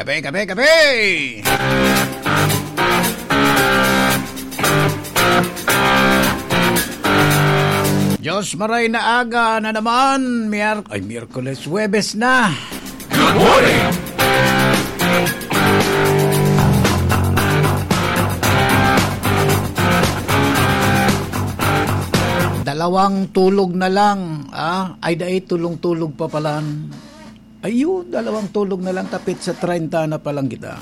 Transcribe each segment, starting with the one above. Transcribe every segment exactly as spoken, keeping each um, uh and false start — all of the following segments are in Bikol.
Kape, kape, kape! Diyos maray na aga na naman, Mier-, ay, Miyerkules, Huwebes na. Good morning! Dalawang tulog na lang, ah? Ay, dai, tulong-tulog pa palan. Ayun, dalawang tulog na lang, tapit sa treinta na pa lang kita.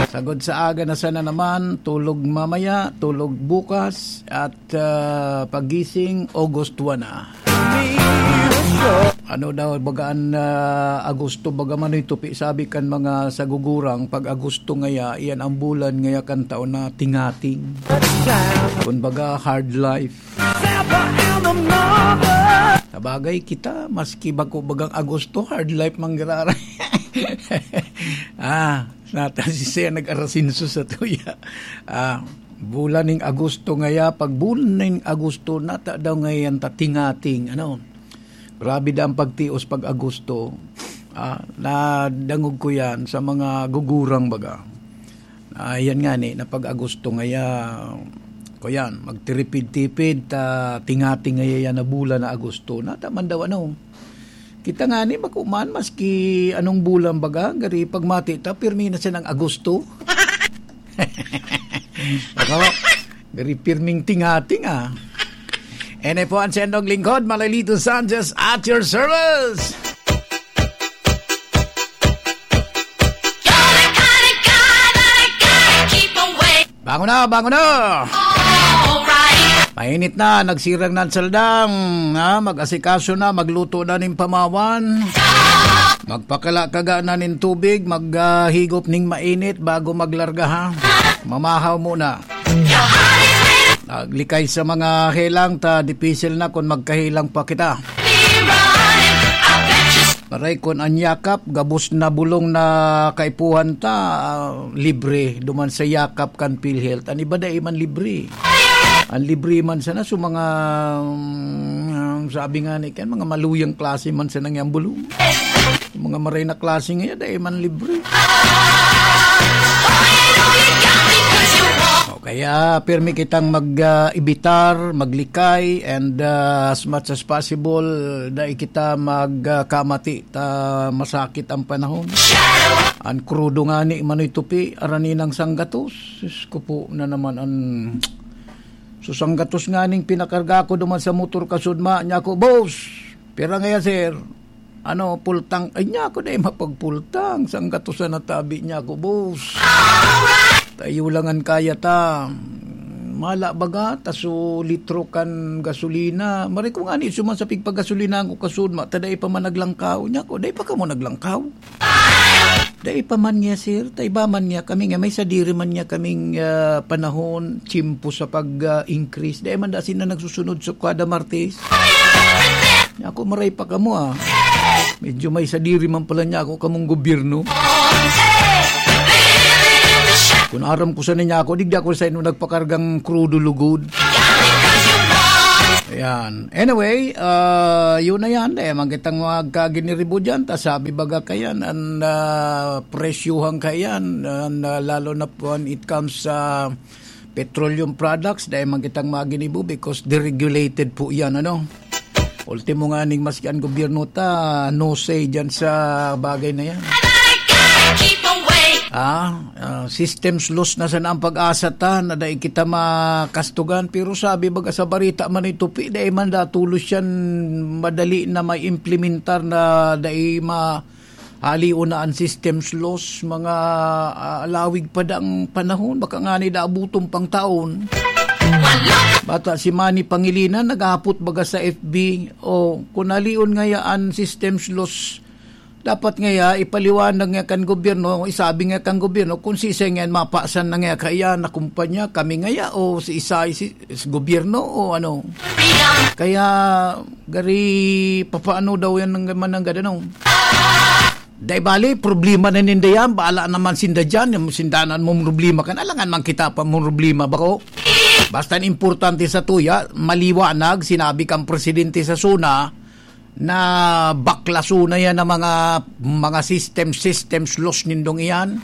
Sagod sa aga na sana naman, tulog mamaya, tulog bukas, at, ah, pagising, August one na. Ano daw, baga an, ah, Agosto, baga man ito, pi-, sabi kan mga sagugurang, pag Agosto ngaya, iyan ang bulan ngaya kan taon na tingating. Kumbaga, hard life. Sabagay kita, maski bako bagang Agosto, hard life manggiraray. Ah, nata si Sir nag-arasinso sa tuya. Ah, bulan ning Agosto ngaya, pag bulan ning Agosto, nata daw ngayon ta tingating, ano? Grabe da ang pagtios pag Agosto. Ah, nadangog ko yan sa mga gugurang baga. Ah, yan nga ni, na pag Agosto ngaya, kuyan, magtiripid-tipid, ta tingating ngaya yan na bulan na Agosto. Nata man daw ano, kita nga ni, bako man, maski anong bulan baga, gari pagmati ta, pirmi na siya ng Agosto. Ako, gari pirming tingating, ah. Ene po ang sendong lingkod, Malalito Sanchez, at your service. Bangon na, bangon na! Mainit na, nagsirang na ang saldang, ha? Mag-asikaso na, magluto na nin pamawan. Magpakalakaga na nin tubig, maghigop ning mainit bago maglarga, ha? Mamahaw muna. Naglikay sa mga helang ta, dipisil na kun magkahelang pa kita. Aray, kun an Yakap, gabos na bulong na kaipuhan ta, ah, libre, duman sa Yakap kan PhilHealth. An iba dai man libre. An libre man sana, so mga, mm, sabi nga ni Ken, mga maluyang klase man sana yang bulong. Mga maray na klase ngayon, dai man libre. O kaya, pirmi kitang mag, ah, ibitar, maglikay, and, ah, as much as possible, dai kita mag, ah, kamati ta masakit ang panahon. An krudo ngani, manoy tupi, araninang sanggatos. Sus ko po na naman an So, sanggatos nganing pinakarga ko duman sa motor kasudma, niya ko, "Boss, pira ngaya, sir?" Ano, pultang? Ay, niya ko, dai mapagpultang. Sanggatos na natabi niya ko, boss. Tayo lang an kaya ta. Mala baga, taso litro kan gasolina. Mari ko nga ni, suman sa pigpagasolina ko kasudma, ta dai pa man naglangkaw. Niya ko, dai pa kamo naglangkaw? Dai pa man niya, sir. Ta iba man niya kami nga may sadiri man niya kaming, ah, panahon, tiyempo sa pag, ah, increase. Dai man da sila nagsusunod sa kada Martes. Ako, maray pa kamo, ah. Medyo may sadiri man pala niya ako kamong gobyerno. Kung aram ko sa niya ako, digdi ako sa inyo nagpakargang krudo lugod. Ayan. Anyway, ah, yun na yan. Dai man kitang magkaginiribo dyan. Ta sabi baga kayan, an, ah, presyuhan kayan, an, ah, lalo na po when it comes sa petroleum products, dai man kitang maginibo because deregulated po yan, ano? Ultimo nga ning maski an gobyerno ta, no say dyan sa bagay na yan. Ah, ah, systems loss na sana ang pag-asa ta na dai kita makastugan. Pero sabi baga sa barita man ito, pi, dai man datulos yan madali na may implementar na dai ma-, halion na an systems loss, mga, ah, alawig pa dang panahon, baka nga ni daabuton pang taon. Bata si Manny Pangilinan, naghapot baga sa F B, o kung halion ngaya an systems loss, dapat ngaya ipaliwanag nga kan gobyerno, isabi nga kan gobyerno, kung sisay ngayan mapasan na ngaya kaya na kumpanya, kami ngaya o si Isay, si, si gobyerno o ano. Kaya, gari, papaano daw yan ng mananggad, ano? Dai bali, problema na ninda yan, bahala naman sinda dyan, yung sindanan mong problema kan, alangan man kita pa mong problema, bako? Basta ang importante sa tuya, maliwanag, sinabi kang presidente sa SONA, na baklaso na yan ang mga, mga system, systems loss nindong iyan.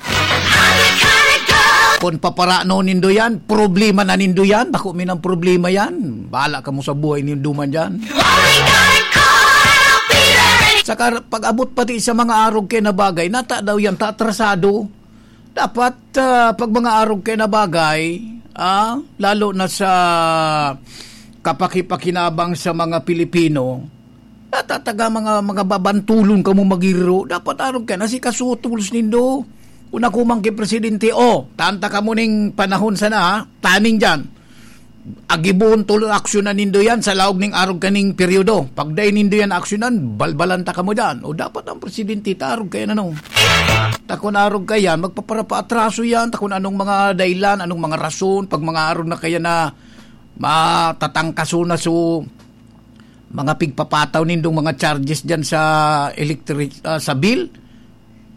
Kung paparano nindo yan, problema na nindo yan. Bako minang problema yan. Bahala kamo sa buhay nindo man dyan. Saka pag-abot pati sa mga arog kaya na bagay, nata daw yan, tatrasado. Dapat, ah, pag mga arog kaya na bagay, ah, lalo na sa kapakipakinabang sa mga Pilipino, natataga mga, mga babantulon kamo magiro. Dapat arog kaya na si kasutulos nindo. Kung ako man kay presidente, oh, tanta kamo ning panahon sana, ha? Taning dyan. Agibohon tolo aksyonan nindo yan sa laog ning arog kaning peryodo. Pag dai nindo yan aksyonan, balbalan ta kamo dyan. O dapat ang presidente, ta arog kaya na, no? Ta kun arog kaya, magpaparapaatraso yan. Ta kun anong mga dahilan, anong mga rason, pag mga arog na kaya na matatangkaso na so mga pigpapataw nindong mga charges dyan sa electric, ah, sa bill,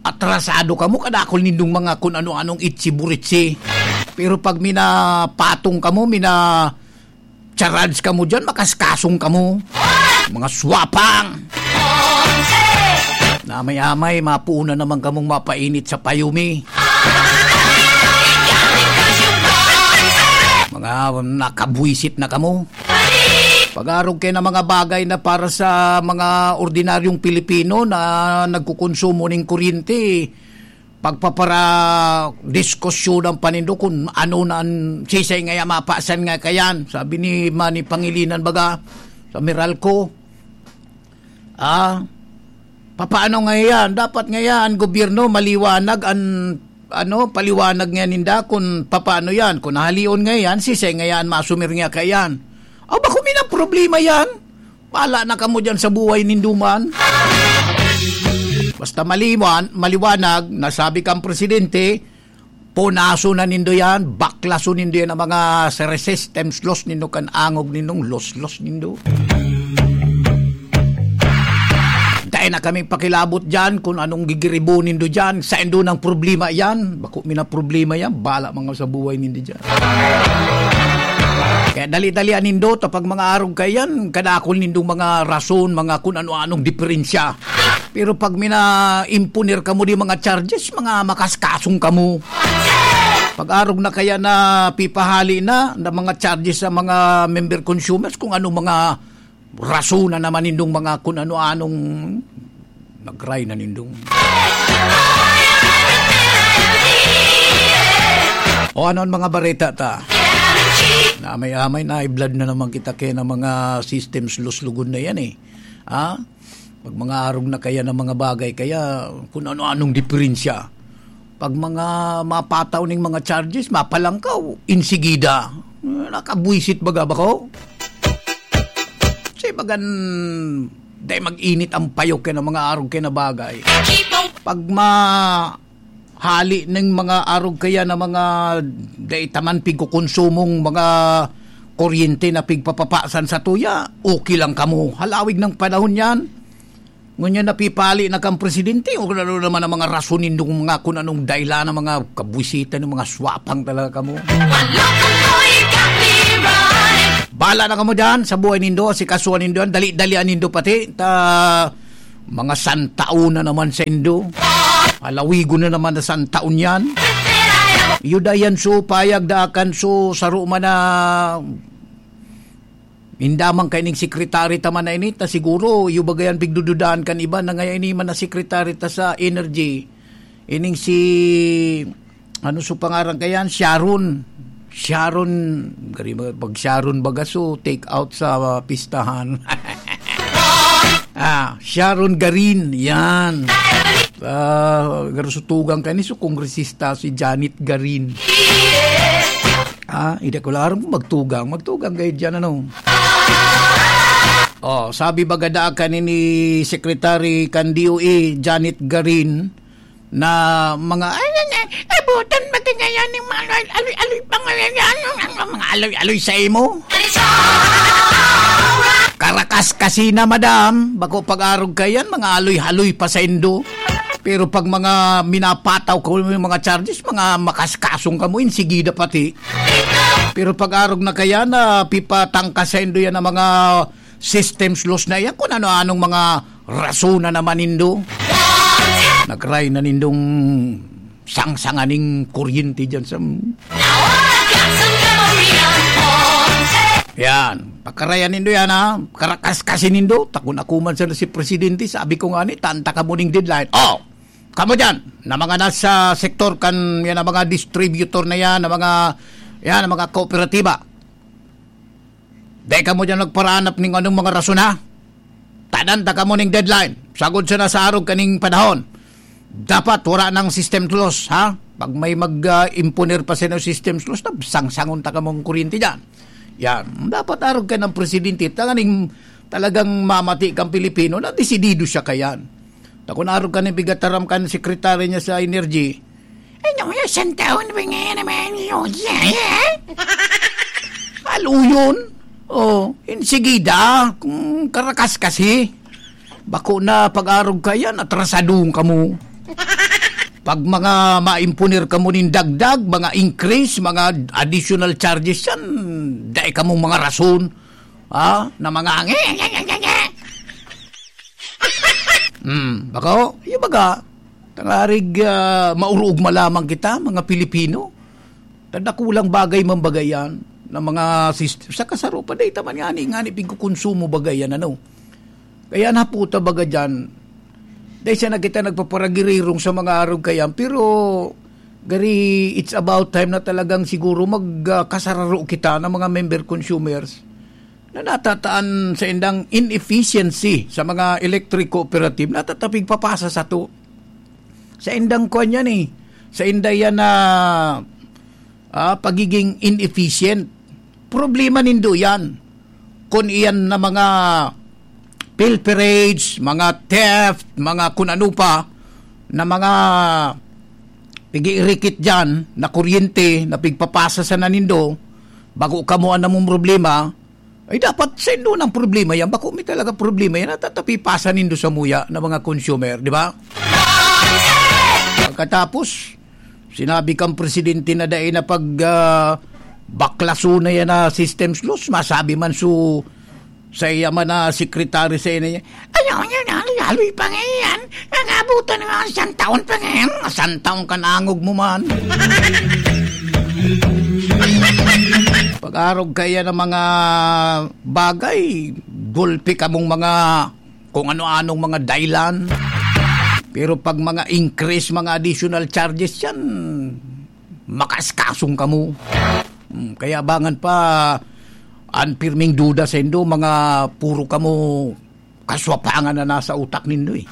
atrasado kamo, kadakol nindong mga kun ano-anong itsi-buritsi. Pero pag minapatong kamo, mina-charge kamo dyan, makaskasong kamo. Mga swapang! Na amay-amay, mapuuna naman kamong mapainit sa payumi. Mga nakabwisit na kamo. Pag-arog kaya na mga bagay na para sa mga ordinaryong Pilipino na nagkukonsumo ning kuryente, pagpapara-diskusyonan pa nindo kung ano na an-, sisay ngaya mapasan nga kayan. Sabi ni Manny Pangilinan baga sa Meralco, ah, papaano ngayan? Dapat ngayan gobyerno maliwanag an, ano, paliwanag ngayan ninda kung papaano yan. Kung nahalion ngayan, sisay ngayan masumir nga kayan. O, bako minang problema yan. Bahala na kamo dyan sa buhay nindo man. Basta maliwan-, maliwanag, nasabi kang presidente, punaso na nindo yan, baklaso nindo yan ang mga sere-, systems loss nindo, kan angog nindong loss-loss nindo. Dai na kami pakilabot dyan kung anong gigiribo nindo dyan. Saindo nang problema yan. Bako minang problema yan. Bahala mga sa buhay nindo dyan. Kaya dali-dalian nindo, ta pag mga arog kayan, kadakol nindong mga rason, mga kun ano-anong diferensya. Pero pag mina-imponer kamo di mga charges, mga makaskasong kamo. Pag arog na kaya na pipahali na, na mga charges sa mga member consumers, kung ano mga rason na naman nindong mga kun ano-anong nagray na nindong. O ano ang mga bareta ta? Na may amay na blood na naman kita kaya ng mga systems luslugod na yan eh. Ha? Pag mga arog na kaya ng mga bagay, kaya kun ano-anong diferensya. Pag mga mapataw ning mga charges, mapalangkaw, insigida. Nakabwisit baga ba ko? Kasi bagan, dai mag-init ang payok kaya ng mga arog kaya na bagay. Pag ma-, hali ning mga arog kaya na mga dai taman pigkukonsumong mga kuryente na pigpapapasan sa tuya, okay lang kamo. Halawig ng panahon yan. Ngunyan napipali na kang presidente, o kung ano naman ang mga rason nindong mga kung anong dahilan ng mga kabwisita ng mga swapang talaga kamo. Bala na kamo dyan sa buhay nindo, si kasuan nindo yan, dali-dalian nindo pati, ta mga santaon na naman sa indo. Alawigon na naman na santaon yan. Yuda yan so, payag daakan so, saro man na indaman kaining sekretary ta man na ini, ta siguro, iyo baga yan pigdududahan kan iba na ngayon ini man na sekretary ta sa energy. Ining si, ano so pangaran kayan? Sharon. Sharon, gari ba, pag Sharon baga so, take out sa, ah, pistahan. Ah, Sharon Garin, yan. Ah, garo so tugang kani, so kongresista si Janet Garin. Ah, hindi ko lang aram kung magtugang. Magtugang kayo dyan, ano? Oh, sabi baga daakan ni Secretary kan D O A, Janet Garin, na mga, ay, ay, ay, abutan ba kaya yan yung mga aloy-aloy pa ngayon yan? Ang, ang mga aloy-aloy sa imo? Karakas kasi na, madam. Bako pag-arog ka yan, mga aloy-haloy pa sa indo. Pero pag mga minapataw ko yung mga charges, mga makaskasong ka mo, insigida pati. Pero pag-arog na kaya na pipatangkas sa indo yan ang mga systems loss na yan, kung ano-anong mga rason na naman nindo. Nagray na nindong sangsangan ning kuryente dyan sa... Yan. Pakarayan nindo yan, ha? Karakas kasi nindo. Takon ako man sana si Presidente. Sabi ko nga ni, tanta ka mo ning deadline. Oh! Kamo dyan, na mga nasa sektor kan, yan ang mga distributor na yan, na mga, yan ang mga kooperatiba. Dai kamo dyan nagparanap ning anong mga rason, ha? Tadan ta kamo ning deadline. Sagod sana sa arog kaning panahon. Dapat wala nang system close, ha? Pag may mag, ah, imponer pa sa inyo system close, na sangsangon ta kamong kuryente dyan. Yan. Dapat arog ka ng presidente. Tanganing talagang mamati kang Pilipino na desidido siya kayan. Ta kun arog ka ni pigataram kan sekretary niya sa energy, "Ano nga, santahon ba nga naman yun, eh?" Aluyon. Oh, insigida, kung karakas kasi. Bako na pag-arog ka yan, atrasadong kamo. Pag mga maimponer kamo nin dagdag, mga increase, mga additional charges yan, dai kamong mga rason. Ha? Na mga nge, nge, nge, nge, nge. Hmm, bako, yung baga, tangarig, ah, maurugma lamang kita, mga Pilipino. Tanda kulang bagay man bagay yan, na mga sist-, sa kasaro pa, dahil taman ngani, ngani pigkukonsumo bagay yan, ano. Kaya naputa baga dyan, dahil siya na kita nagpaparagirirong sa mga arog kayan, pero gari, it's about time na talagang siguro mag, ah, kasararo kita ng mga member consumers na natataan sa indang inefficiency sa mga electric cooperative, natatapig papasa sa to. Sa indang kwan yan eh. Sa inda yan na, ah, pagiging inefficient. Problema nindo yan. Kung iyan na mga pilferage, mga theft, mga kun ano pa, na mga pig-iirikit dyan, na kuryente, na pigpapasa sa nanindo, bago kamo ang namong problema, ay, dapat sa indo ng problema yan. Bako may talaga problema yan. Natatapipasan nindo sa muya na mga consumer, di ba? Pagkatapos, sinabi kang presidente na dai na pag, ah, baklaso na yan na systems loss. Masabi man su, sa iya man na secretary sa ina niya, "Ayaw niya na, laloy pa ngayon. Nangabutan na nga siyang taon pa ngayon. Siyang taon ka na angog mo man." Pag-arog kaya ng mga bagay, gulpi kamong mga kung ano-anong mga dahilan. Pero pag mga increase, mga additional charges yan, makaskasong kamo. Hmm, kaya abangan pa, ang pirming duda sa indo, mga puro kamo kaswapangan na nasa utak nindo eh.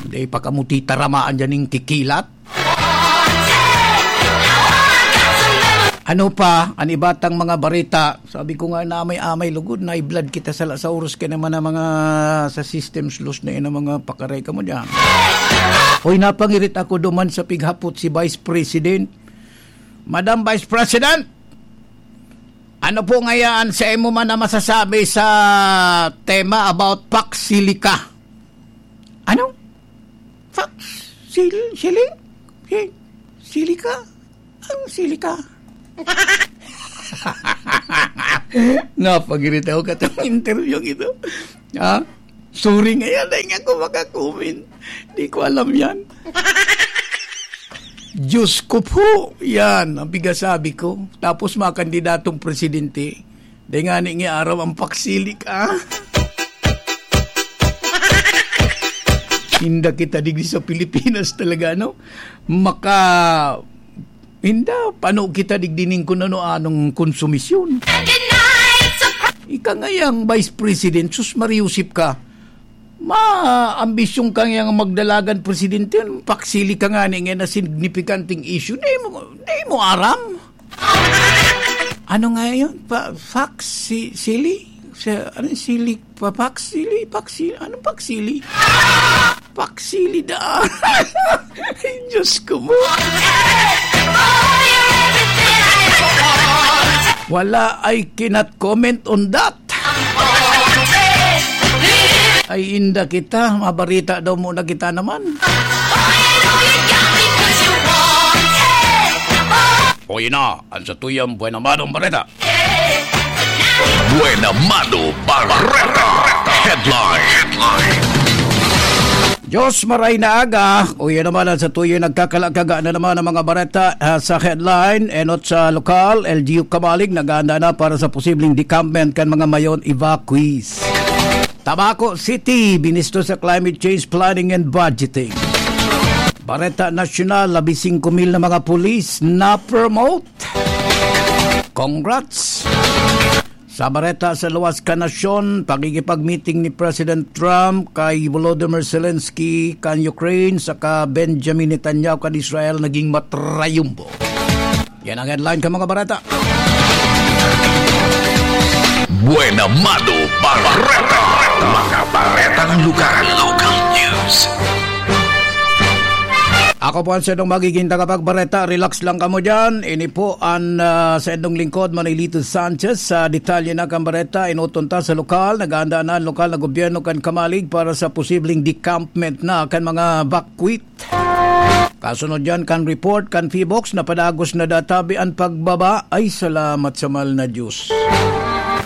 Hindi pa kamo titaramaan dyan yung kikilat. Ano pa, ang iba tang mga barita? Sabi ko nga, naamay-amay lugod, na-blood kita sa, sa oras ka naman na mga sa systems loss na yun, ang mga pakaray ka mo dyan. Hoy, napangirit ako duman sa pighapot si Vice President. Madam Vice President, ano po ngayaan sa imo man na masasabi sa tema about Pax Silica? Ano? Fox? Sil-, sili? Si-, silika? Ang silika? Napagirita ako katong interview ito. Ha? Sorry nga yan, dahil nga ako makakomment. Di ko alam yan. Diyos ko po, yan, ang bigasabi ko. Tapos mga kandidatong presidente, dai ngani nga aram ang paksilik, ah. Inda kita digdi sa Pilipinas talaga, no? Maka-, inda, pano kita digdi ning kun ano-anong konsumisyon. Ika ngayang Vice President, sus, mariusip ka. Ma-, ambisyon ka ngayang magdalagan presidente, paksili ka ngani nga na significanteng issue. Di mo, di mo aram. Ano nga yun? Pa-, fax? Si-, sili? Sa, ano yung sili? Pa-, fax? Sili? Fax? Sili? Anong fax? Sili? Fax? Sili da. Ay, Diyos ko mo. Wala, I cannot comment on that. Ay, inda kita, mabarita daw muna kita naman. O, yun na, ang satuyang buhay na madong bareta. Buena Mano Bareta Headline. Diyos, maray na aga. O yan naman ang sa tuyo nagkakalakaga na naman ang mga bareta, ah, sa headline. Enot sa lokal, L G U Camalig, nag-aanda na para sa posibleng decampment kan mga mayon evacuees. Tabaco City, binisto sa climate change planning and budgeting. Bareta nasyonal, labing singko mil na mga pulis na-promote. Congrats! Sa bareta sa luwas kan nasyon, pakikipag-meeting ni President Trump kay Volodymyr Zelensky kan Ukraine saka Benjamin Netanyahu kan Israel naging matrayumbo. Yan ang headline kan mga bareta. Buena Mano Bareta. Mga baretang lokal. Local news. Ako po ang saindong magiging tagapagbareta. Relax lang kamo dyan. Ini po ang, ah, saindong lingkod, Manilito Sanchez. Sa detalye na kan bareta, inuton ta sa lokal. Nag-aanda na ang lokal na gobyerno kan Camalig para sa posibleng decampment na kan mga bakwit. Kasunod dyan kan report kan Phivolcs na padagos na databi an pagbaba. Ay, salamat sa mahal na Diyos.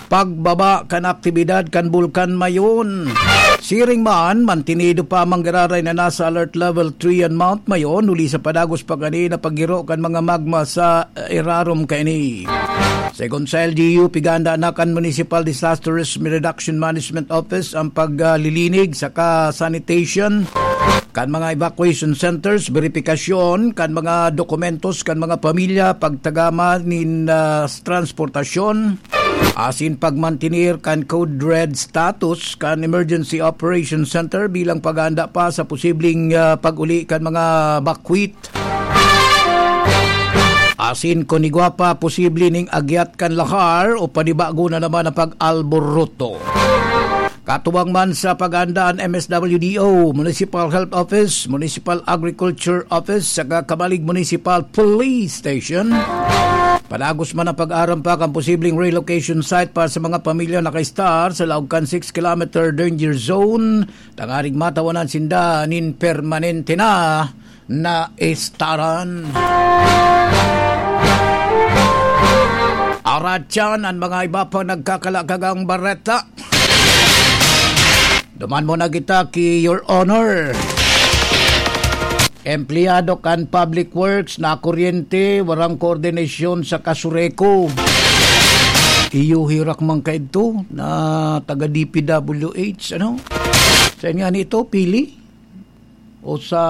Pagbaba kan aktibidad kan Bulkan Mayon. Siring man, mantinido pa ang manggiraray na nasa Alert Level three an Mount Mayon, huli sa padagos pa kanina paggiro kan mga magma sa, eh, irarom kaini. Segun sa L G U, piganda na kan Municipal Disaster Risk Reduction Management Office ang paglilinig saka sanitation kan mga evacuation centers, beripikasyon kan mga dokumentos kan mga pamilya, pagtagama nin, ah, transportasyon, asin pagmantener kan Code Red status kan Emergency Operation Center bilang paghahanda pa sa posibleng, ah, pag-uli kan mga bakwit. Asin kun igwa pa, posible ning agyat kan lahar o panibago na naman ang pag-alboroto. Katuwang man sa paghahanda an M S W D O, Municipal Health Office, Municipal Agriculture Office, saka Camalig Municipal Police Station. Padagos man ang pag-aarampak kan posibleng relocation site para sa mga pamilya nakaistar sa laog kan six kilometer danger zone, tanganing matawanan sinda nin permanente na na estaran. Aratyan an mga iba pang nagkakalakagang bareta. Duman muna kita ki Your Honor. Empleyado kan Public Works na kuryente, warang koordinasyon sa Casureco. Iyo hirak man kaidto na taga D P W H, ano? Saan nga nito? Pili? O sa,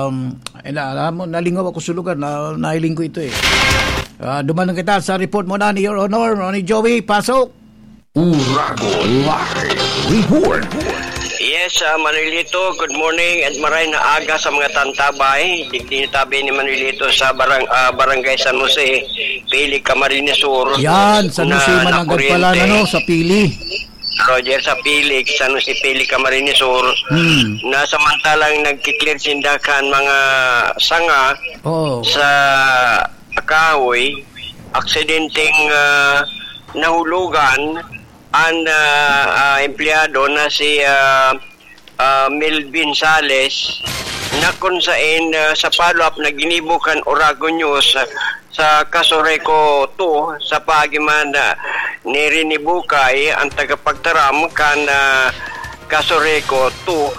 um, ay, na, na, nalingaw ako sa lugar, na, nahiling ko ito eh. Ah, duman na kita sa report mo na ni Your Honor, ni Joey, pasok! Uragon Live Report. Yes, ah, Manuelito, good morning at maray na aga sa mga tantabay. Digdi tabi ni Manuelito sa barang-, ah, Barangay San Jose, Pili, Camarines Sur. Yan, San Jose, na Mananggad pala, nakuryente. Ano, sa Pili. Roger, sa Pili, San Jose, Pili, Camarines Sur, Hmm. na samantalang nagki-clear sinda kan mga sanga Oo. sa kahoy, aksidenteng, ah, nahulugan an, ah, ah, empleyado na si, ah, ah, Melvin Sales, na kun saen, ah, sa follow-up na ginibo kan Oragon News, ah, sa Casureco two, sa paagi man, ah, ni Rene Bucay, ang tagapagtaram kan, ah, Casureco two,